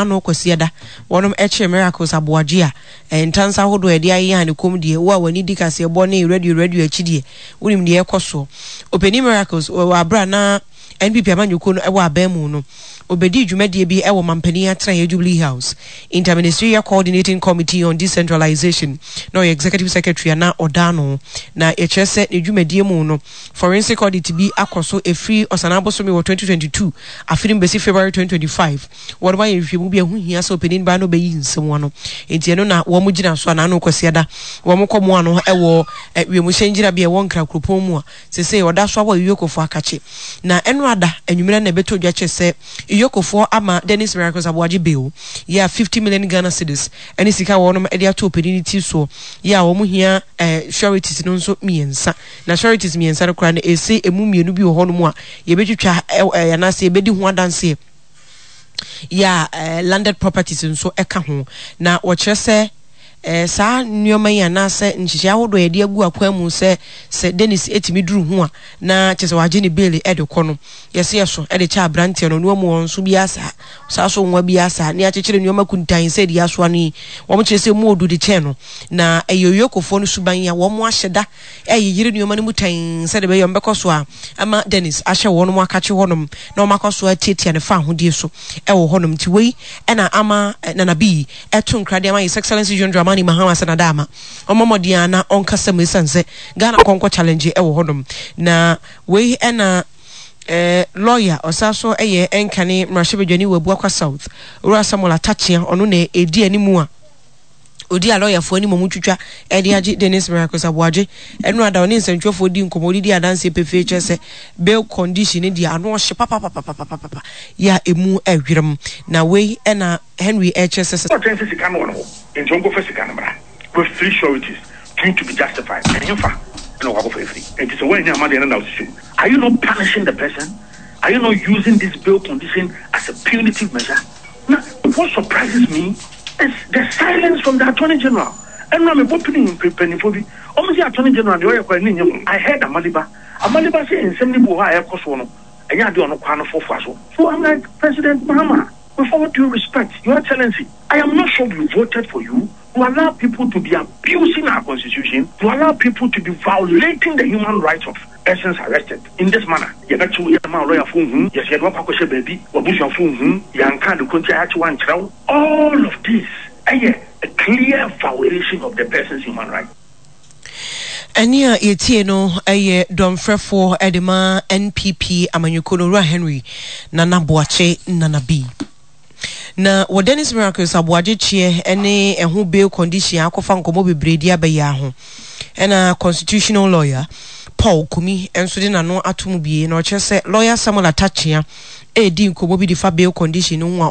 n'ano Kwasiada wɔnom kyeree Miracles Aboagye a ntansa ahodoɔ a yɛde ayeya ne kɔm deɛ wo a w'ani di kaseɛbɔ ne radio radio akyi deɛ wonim deɛ ɛkɔ soɔ. Ɔpanin Miracles wɔ aberɛ a na NPP amanyɔkuo no wɔ aban mu no, ɔbɛdii dwumadie bi wɔ Mampanin atenaeɛ Jubilee House, Inter-Ministerial Coordinating Committee on Decentralization, na ɔyɛ Executive Secretary a na ɔda ano. Na yɛkyerɛ sɛ ne dwumadie mu no, forensic audit bi akɔ so ɛfiri Ɔsanaa bosome wɔ 2022 afe no mu bɛsi February 2025. Wɔnom ayɛ nhwehwɛmu bi a ɛho hia sɛ ɔpanin baa na ɔbɛyi nsɛm ano. Enti ɛno na wɔn gyina so a n'ano Kwasiada wɔn kɔmoa no wɔ wiemhyɛn gyinabea a ɛwɔ Nkran kuropɔn mu a Seesei ɔda so awɔ Iyokofoɔ akakye. Na ɛnora da anwummerɛ na ɛbɛtɔ dwa kyerɛ sɛ Iyokofoɔ ama Dennis Miracles Aboagye bail yɛ a 50 million Ghana cedis ne sika a wɔnom de ato ɔpanin no ti soɔ yɛ a wɔn hia eh, sureties no nso mmiɛnsa. Na sureties mmiɛnsa no koraa no ɛse ɛmu mmienu bi wɔ hɔnom a yɛbɛtwitwa eh, anaasɛ yɛbɛdi ho adanseɛ yɛ a eh, landed properties nso ɛka ho. Na wɔkyerɛ sɛ eh, saa nneɛma yi anaasɛ nhyehyɛe ahodoɔ a yɛde agu akwan mu sɛ sɛ Dennis tumi duru ho a na kyerɛ sɛ wagye ne bail de kɔ no, yɛse yɛso de kyɛ aberanteɛ no, ɔno amu wɔn nso biara saa, saa so nwa biara saa, ne akyekyere nneɛma kuntan sɛ deɛ asoa no yi, wɔn kyerɛ sɛ mu odu de kyɛn no, na ɛyɛ Oyokofoɔ no suban a wɔn ahyɛ da reyeyere nneɛma no mu tann sɛdeɛ ɛbɛyɛ wɔbɛkɔ so a ama Dennis ahyɛ wɔn akakye hɔnom na wɔakɔ so atiatia ne fawohodie so wɔ hɔnom. Nti wei na ama Nana Bii to nkra de ama His Excellency John Dramani Mahama sɛ Nadaama ɔmmɔ mmɔden ara na ɔnkasa mu ɛsiane sɛ Ghana nkɔnkɔ challenge wɔ hɔnom. Na wei na lawyer ɔsan so yɛ nkane mmarahyɛbadwani wɔ Abuakwa South, Owura Samuel Atta-Akyea, ɔno na ɛdi anim a Odi a lɔyafoɔ anim a wɔtwitwa de agye Dennis Miracles Aboagye ɛno ada ɔne nsɛntwerɛfoɔ di nkɔmmɔ ɔde di adanseɛ pefee kyerɛ sɛ bail condition no deɛ ano ɔhye papapapapapapa yɛ a ɛmu ɛwerɛm na wei ɛna Henry ɛkyerɛ sɛ sɛ Ɔkyɛn sɛ sika no wɔ ne hɔ nti ɔnkɔfa sika no mmra with three sureties, two to be justified, ɛhefa na ɔkɔ akɔfa afiri? Nti sɛ woannya amma deɛ no na wosisi mu. Are you not punishing the person? Are you not using this bail condition as a punitive measure? Na what surprises me is the silence from the attorney general. Ɛnora me bɔ pini mpanyinfoɔ bi, wɔn se attorney general deɛ ɔyɛ koraa n'ani nnye ho. I heard Amaliba, Amaliba se nsɛm no bi wɔ hɔ a ɛrekɔ soɔ no, ɛnyɛ adeɛ a ɔno koraa no foafoa so. So I'm like President Mahama, with all due respect, your excellency, I am not sure we voted for you to allow people to be abusing our constitution, to allow people to be violating the human rights of persons arrested in this manner. Yɛbɛkye wo, yɛmma wo lɔyafoɔ nhu, yɛse yɛde wo akɔ akɔhyɛ baabi, w'abusuafoɔ nhu, yɛanka ade ko nti a yɛakye wo ankyerɛ wo. All of this ɛyɛ a clear violation of the person's human rights. Ɛnne a yɛtie no yɛ dɔmfrɛfoɔ de ma NPP amanyɔkuo no, Owura Henry Nana Boakye Nana B. Na wɔ Dennis Miracles aboagye kyeɛ ne ɛho bail condition a akɔfa nkɔmmɔ bebree de aba yi ara ho, ɛna constitutional lawyer Paul Kumi nso de n'ano ato mu bie na ɔkyerɛ sɛ lawyer Samuel Atta Akyea redi nkɔmmɔ bi de fa bail condition no ho a.